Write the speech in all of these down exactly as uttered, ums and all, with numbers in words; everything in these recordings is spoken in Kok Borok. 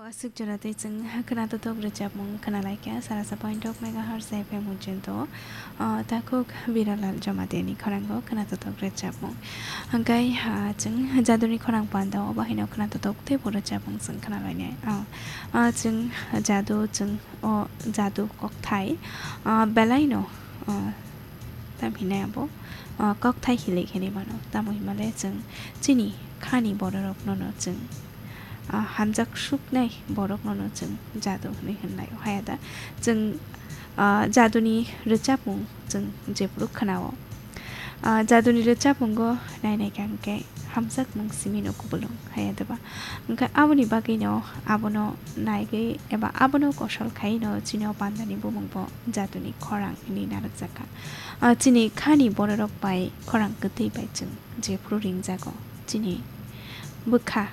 Aswk jora tei chwng khwnatotok rwchapmung khwnalaikha, sarasa point rok megahertz F M muchunto, ah, takhuk Biralal Jamatia ni khorang o khwnatotok rwchapmung. Hwnkhe, ah, chwng jaduni khorang panda o bahaino khwnatotok teibo rwchapmung chwng khwnalainai. Ah, ah, chwng jadu, chwng o jadu kokthai, ah, belaino, ah, tam hinai abo, ah, kokthai hilik hinwi mano. Tamo hinmale chwng chini khani bororokno no chwng, ah, hamjak suknai borokno no chwng jadu hinwi hwnlai o. Haya da chwng, ah, jaduni rwchapmung chwng jephuru khwnao. Ah, jaduni rwchapmungo nainai kha hwnkhe hamjakmung simi no kubulung haya da ba. Hwnkhe aboni bagwino abono naigwi eba abono kosol khaino chini o pandani bumungbo jaduni khorang hinwi narwkjakha. Ah, chini khani bororok bai khorang kwtwi bai chwng jephuru ringjago, chini bwkha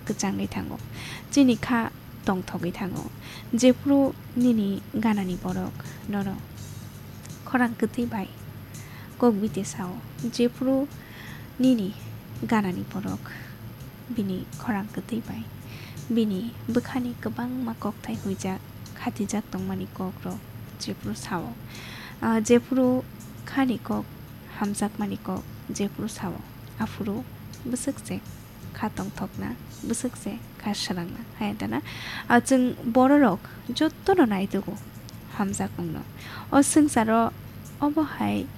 kwchangwi thango, chini kha tongthogwi thango. Jephuru nini ganani borok nono khorang kwtwi bai kok biti sao, jephuru nini ganani borok bini khorang kwtwi bai bini bwkhani kwbangma kokthai huijak, khatijak tongmani kokrok jephuru sao. Ah, jephuru khani kok, hamjakmani kok jephuru sao, aphuru bwswk se kha tongthokna, bwswk se kha swrangna, haya da na? Ah, chwng bororok jotono naitugo hamjakmungno. O swngcharo obo hai